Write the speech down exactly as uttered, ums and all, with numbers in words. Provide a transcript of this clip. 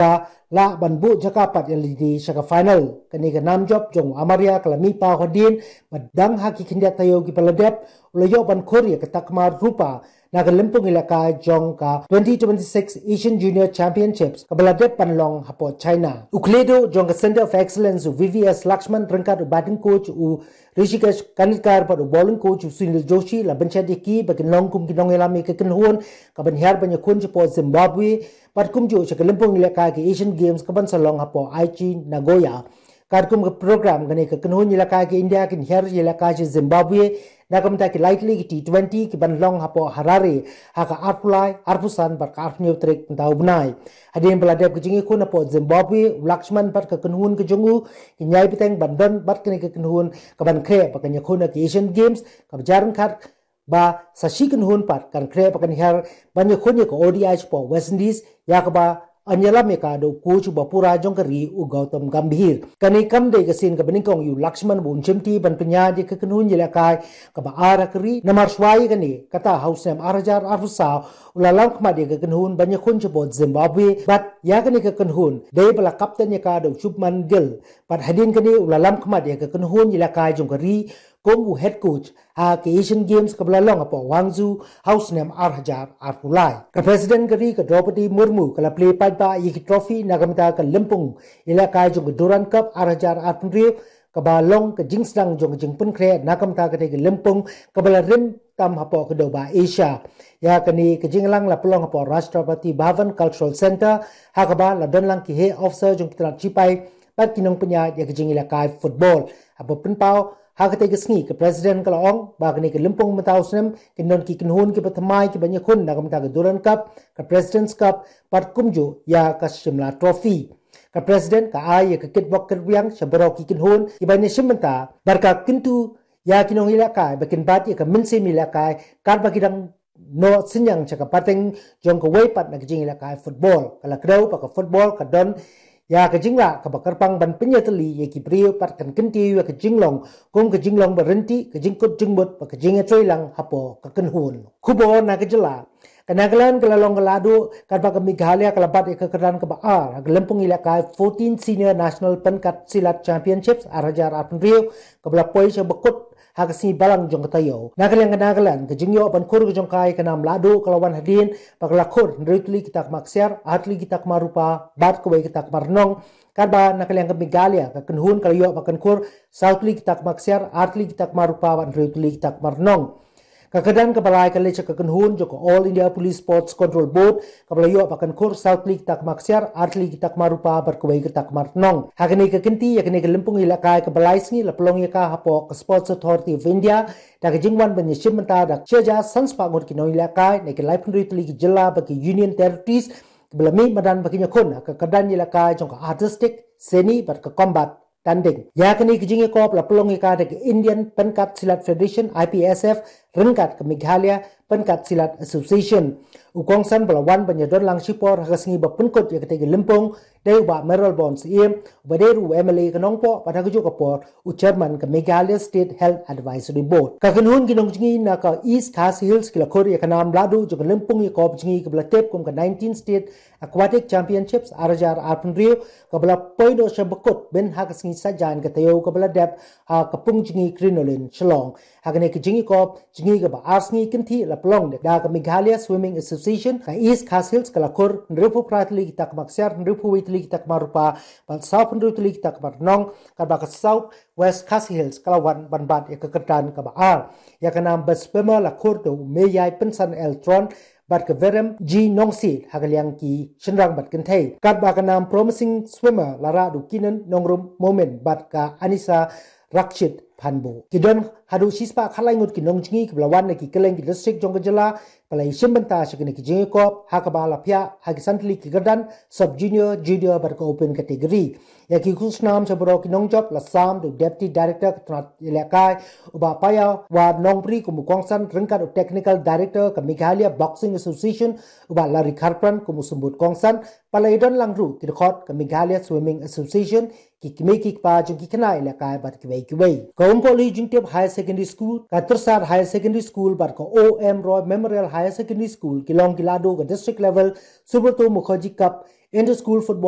ba lah ban buh jaka pat ïa lade sha ka final. Kane ka nam jop jong u Amaria ka la mih paw hadien ba dang ha ki khyndiat taïew kiba la dep u la ïoh ban khur ïa ka takma rupa na ka lympung ïalehkai jong ka twenty twenty-six Asian Junior Championships kaba la dep ban long hapoh China. U khlieh duh jong ka Centre of Excellence u V V S Lakshman ryngkat u batting coach u Rishikesh Kanitkar bad u bowling coach u Sunil Joshi la bynshet ïa ki ba kin long kum ki nongïalam ïa ka kynhun kaban hiar ban ïakhun shapoh Zimbabwe bad kumjuh sha ka lympung ïalehkai ka Asian Games kaban sa long hapoh Aichi Nagoya. Katkum ka program kane ka kynhun ïalehkai ka India kin hiar ïalehkai sha Zimbabwe na ka bynta ki lai tylli ki T twenty kiban long hapoh Harare ha ka arphew lai, arphew san bad ka arphew hynñiew tarik mynta u bnai. Hadien ba la dep ka jingïakhun hapoh Zimbabwe, u Lakshman bad ka kynhun ka jong u kin ïai bteng ban don bad kane ka kynhun kaban khreh ba kan ïakhun ha ki Asian Games kaba jia ryngkat ba sa shi kynhun pat kan khreh ba kan hiar ban ïakhun ïa ka O D I shapoh West Indies, ïa kaba yn ïalam ïa ka da u coach uba pura jong ka ri u Gautam Gambhir. Kane kam dei ka sien kaba nyngkong ïa u Lakshman ba un shimti ban pynïaid ïa ka kynhun ïalehkai kaba ar ha ka ri. Namar shuwa ïa kane, kata ha u snem ar hajar arphew saw u la lam khmat ïa ka kynhun ban ïakhun shapoh Zimbabwe bad ïa kane ka kynhun dei ba la captain ïa ka da u Shubman Gill. Bad hadien kane u la lam khmat ïa ka kynhun ïalehkai jong ka ri kum u head coach ha ka Asian Games kaba la long hapoh Guangzhou ha u snem ar hajar arphew lai. Ka President ka ri ka Droupadi Murmu ka la plie paidbah ïa ki trophy na ka bynta ka lympung ïalehkai jong ka Durand Cup ar hajar arphew hynriew kaba long ka jingsdang jong ka jingpynkhreh na ka bynta katei ka lympung kaba la rim tam hapoh ka dewbah Asia. Ïa kane ka jingïalang la pynlong hapoh Rashtrapati Bhavan Cultural Centre ha kaba la don lang ki heh officer jong ki tnat shipai bad ki nongpynïaid ïa ka jingïalehkai football. Haba pynpaw ha katei ka sngi ka President ka la ong ba kane ka lympung mynta u snem kin don ki kynhun kiba thymmai kiban ïakhun na ka bynta ka Durand Cup, ka President's Cup bad kumjuh ïa ka Shimla Trophy. Ka President ka ai ïa ka kitbok kitrwiang sha baroh ki kynhun kiban ïashim bynta bad ka kyntu ïa ki nongïalehkai ba kin bat ïa ka mynsiem ïalehkai katba ki dang noh synñiang sha ka pateng jong kawei pat na ka jingïalehkai football. Ka la kdew ba ka football ka don ïa ka jinglah kaba kyrpang ban pynïatylli ïa ki briew bad kan kyntiew ïa ka jinglong kum ka jinglong ba ryntih, ka jingkut jingmut bad ka jingïatreilang hapoh ka kynhun. Khubor na ka jylla. Ka Nagaland ka la long ka lahduh katba ka Meghalaya ka la bat ïa ka kyrdan kaba ar ha ka lympung ïalehkai fourteen Senior National Pynkat Silat Championships ar hajar arphew hynriew kaba la poi sha bakut ha ka sngi Balang jong ka taïew. Na ka liang ka Nagaland, ka jingïoh ban khur ka jong ka ïa ka nam lahduh ka la wan hadien ba ka la khur hynriew tylli ki takma ksiar, ar tylli ki takma rupa bad kawei ka takma rnong. Katba na ka liang ka Meghalaya, ka kynhun ka la ïoh ba kan khur saw tylli ki takma ksiar, ar tylli ki takma rupa bad hynriew tylli ki takma rnong. Ka kyrdan kaba lai ka leit sha ka kynhun jong ka All India Police Sports Control Board kaba la ïoh ba kan khur saw tylli ki takma ksiar, ar tylli ki takma rupa bad kawei ka takma rnong. Ha kane ka kynti ïa kane ka lympung ïalehkai kaba lai sngi la pynlong ïa ka hapoh ka Sports Authority of India da ka jingwan ban ïashim bynta da shi hajar san spah ngut ki nongïalehkai na ki laiphew hynriew tylli ki jylla bad ki Union Territories kiba la mih madan ba kin ïakhun ha ka kyrdan ïalehkai jong ka Artistic, Scenic bad ka Combat Tanding. Ïa kane ka jingïakop la pynlong ïa ka da ka Indian Pynkat Silat Federation, I P S F, ryngkat ka Meghalaya Pynkat Silat Association. U kongsan ba la wan ban ïadon lang shipor ha ka sngi ba pynkut ïa katei ka lympung dei u Bah Mayralborn Syiem, uba dei ruh u M L A ka Nongpoh bad ha kajuh ka por u Chairman ka Meghalaya State Health Advisory Board. Ka kynhun ki nongjngi na ka East Khasi Hills ki la khur ïa ka nam lahduh jong ka lympung ïakop jngi kaba la tip kum ka nineteen State Aquatic Championships ar hajar arphew hynriew kaba la poi noh sha bakut ban ha ka sngi Saitjaiñ ka taïew kaba la dep ha ka Pungjngi Crinoline, Shillong. Ha kane ka jingïakop jngi kaba ar sngi kynthih la pynlong da ka Meghalaya Swimming Association, ka East Khasi Hills ka la khur hynriewphew phra tylli ki takma ksiar, hynriewphew wei tylli ki takma rupa bad sawphew hynriew tylli ki takma rnong, katba ka South West Khasi Hills ka la wan ban bat ïa ka kyrdan kaba ar. Ïa ka nam Best Swimmer la khur da u Meiïaipynsan L Tron bad ka Verem G Nongsiej ha ka liang ki shynrang bad kynthei. Katba ka nam Promising Swimmer la rah da u Kinan Nongrum Momin bad ka Anisa Rakshit Phanbo. Ki don haduh shispah khatlai ngut ki nongjngi kiba la wan na ki kylleng ki district jong ka jylla ba la ïashim bynta sha kane ka jingïakop, ha kaba la phiah ha ki san tylli ki kyrdan, sub junior, junior bad ka open category. Ïa ki khusnam sha baroh ki nongjop la sam da u Deputy Director ka tnat ïalehkai u Bah Paiawar Nongbri kum u kongsan, ryngkat u Technical Director ka Meghalaya Boxing Association u Bah Larry Kharpran kum u symbud kongsan. Ba la ïadon lang ruh ki dkhot ka Meghalaya Swimming Association, ki kmie ki kpa jong ki khynnah ïalehkai bad kiwei kiwei. Ka Umpohli Jingtip Higher Secondary School, ka Tyrsad Higher Secondary School bad ka O M Roy Memorial Higher Secondary School ki long ki lahduh ka District Level Subroto Mukherjee Cup Inter-school football